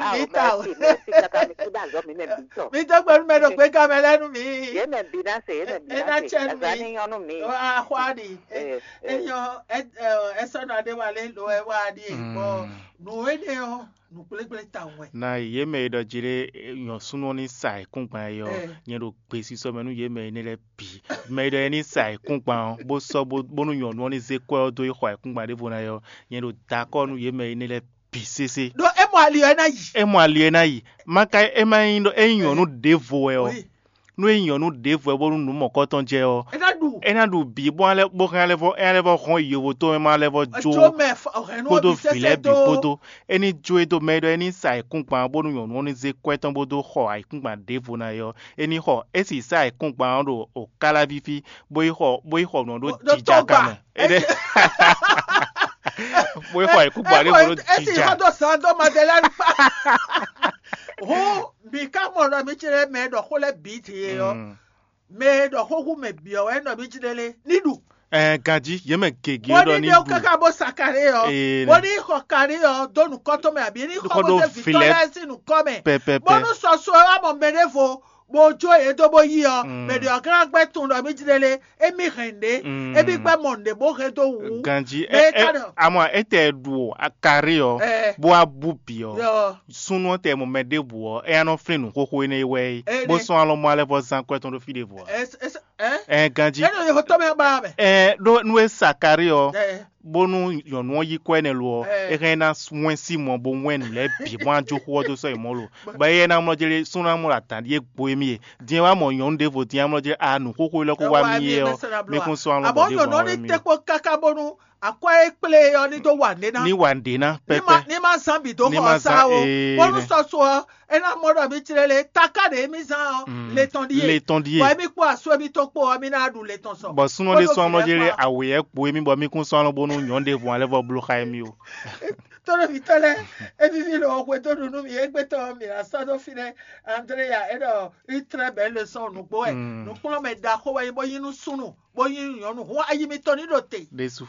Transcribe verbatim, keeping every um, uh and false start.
Awo, mɛsi, mɛsi kaka mi kú ɖo azɔ mi mɛ bǐ tɔ. Mi dó gbe nú mɛ ɖo gbéga mɛ lɛ́ɛ nú mi. Yě mɛ bǐ ná se, yě mɛ bǐ ná se. Azá ní nyɔ́ nú mi. Axwá ɖi. Ɛ, ɛ. Enyɔ ɛ ɛ sɔnɔ aɖé wa lé lo ɛ wa ɖi e bɔ nǔ énɛ́ ɔ́ nǔ gblégblé tawun wɛ. Na yě mɛ e ɖɔ jí ɖé nyɔ̌súnú ɔ́ ní sa ayǐkúngban é ɔ́, nyɛ ɖo gbesisɔ mɛ nú yě mɛ énɛ́ lɛ́ɛ bǐ. Mɛ e ɖɔ é ní sa ayǐkúngban ɔ́, bó sɔ́ bó bónú nyɔ̌nu ɔ́ ní zé kwɛ́ ɔ́ dó yi xɔ ayǐkúngban ɖěvo ná é ɔ́, nyɛ ɖo da akɔ́ nú yě mɛ énɛ́ lɛ́ɛ bǐ sésé. Ɖó é mɔ ali ɔ́ é ná yi. É mɔ ali ɔ́ é ná yi. Má ka é má nyí ɖɔ é nyí nyɔ̌nu ɖěvo wɛ ɔ́, nú é nyí nyɔ̌nu ɖěvo wɛ bónú nǔ mɔ̌kɔtɔn jɛ ɔ́, é ná ɖu. É ná ɖu bǐ bó hɛn lɛ́ bó hɛn lɛ́ vɔ é hɛn lɛ́ vɔ hɔn yovo tó mɛ má lɛ́ vɔ jó jó mɛ fɔ hɛn nú kpódó ɔbí vǐ lɛ́ɛ sɛsɛ bǐ tó. Kpódó. É ní jó é dó mɛ ɖɔ é ní sa ayǐkúngban bónú nyɔ̌nu ɔ́ ní zé kwɛ́ tɔn bó dó xɔ ayǐkúngban ɖěvo ná é ɔ́, é ní xɔ é sì sa ayǐkúngban ɔ́ ɖo òkálávíví bó yi xɔ bó yi xɔ nǔ ɔ́ ɖó Ɖó jija tɔgba. Ka mɛ. É ɖe bó yi xɔ ayǐkúngban ɖěvo ɖó esi jija. Xɔ dó sàn dó Madeleine kpa. Hú mi ka mɔ ɖɔ mi ci ɖe mɛ ɖɔ xó lɛ́ɛ bǐ ti e ɔ́. Mm. Mɛ e ɖɔ xó hú mɛ bǐ ɔ́ wɛ nɔ mi ci ɖe lé ní ɖu. Ɛɛ ganjí yě mɛ gěgé Bó ɖɔ ní ní ɖe ɖu. Kaka bó sa kaɖé ɔ́. Ee, bó ní xɔ kaɖé ɔ́ dó nukɔn tɔn mɛ àbí ní xɔ Xɔ bó ɖó dé vǐ tɔn lɛ́ɛ sín nukɔn mɛ. Pɛpɛpɛ. Bónú sɔsɔ ɔ́ wá mɔ mɛ ɖěvo bó jó yě dó bó yí ɔ́, mɛ ɖě ɔ́ glán gbɛ́ tunwun ɖɔ mí jlé lé, émí hɛn nǔɖé, émí gbɛ́ mɔ nǔɖé bó hɛn dó wǔ. Ganjí mɛ é é ka ɖɔ amɔ étɛ ɖu o akari ɔ Ɛ. Bó wá bú bǐ ɔ Yɔ. Súnnu ɔ́ tɛ mɔ mɛ ɖěbǔ ɔ́, é nya nɔ flín nǔxoxo énɛ́ wɛ é, Ɛ bó nɛ. Sɔ́ alɔ mɔ alɛ vɔ zán kwɛ́ tɔn ɖó fí ɖěvo ɔ. Ɛ ɛ ɛ Ɛ ganjí. Ɛ ɖo yexɔ tɔn mɛ ba mɛ. Ɛ ɖó nú é sa akari ɔ Ɛ. Bónú nyɔ̌nu ɔ́ yí kɔ énɛ́ lo ɔ́, É hɛn ná wɛn sín mɔ bó wɛn nǔ lɛ́ɛ bǐ bó ná jó xó ɔ́ dó sɔ́ yi mɔ̌ lo. Bɔ éyɛ́ ná mlɔ́ jlé súnnu ná mlɔ́ ɖo adǎn ɖíe gbo émí e. Din e wá mɔ nyɔ̌nu ɖěvo din e wá mlɔ́ jlé a nǔxoxo élɔ́ kó wá mì é ɔ́, mi kún sɔ́ alɔ Àmọ́ bɔ nyɔ̌nu ɔ́ ní ɖěvo té kpó káká bónú akwɛ́ e kplé e ɔ́ ní dó wa nǔɖé ná. Ní wa nǔɖé ná Ní ma pɛ́pɛ́. Ní ma zán bǐ dó Ní xɔ ma ɔ́ sá zán o. Ee, Bónú nɛ. Sɔ́ so ɔ́, é ná mɔ ɖɔ mí jlé lé taká ɖě mí zán ɔ́, Mm. Le tɔn ɖíe. Le tɔn ɖíe. Bɔ émí kpó asú émí tó kpó ɔ́, mí ná ɖu le tɔn sɔ. Bɔ súnnu ɖé Bónú sɔ́ amlɔ vǐ jé lé lɛ́ɛ kpó awě ɛ kpo émí bɔ mí kún sɔ́ alɔ bónú nyɔ̌nu ɖěvo alɛ vɔ bló xá émí o. Tónúvítɔ́ lɛ́ɛ, é víví lɔ xwedó ɖu nú mì égbé tɔn mì ná sɔ́ dó fínɛ́. Andréya é ɖɔ une très belle leçon nǔgbó wɛ Mm. Nǔkplɔ́nmɛ ɖaxó wɛ nyí bó nyí nú súnnu bó nyí nú nyɔ̌nu hǔn ayi mitɔn ní ɖo te. Ɖésú.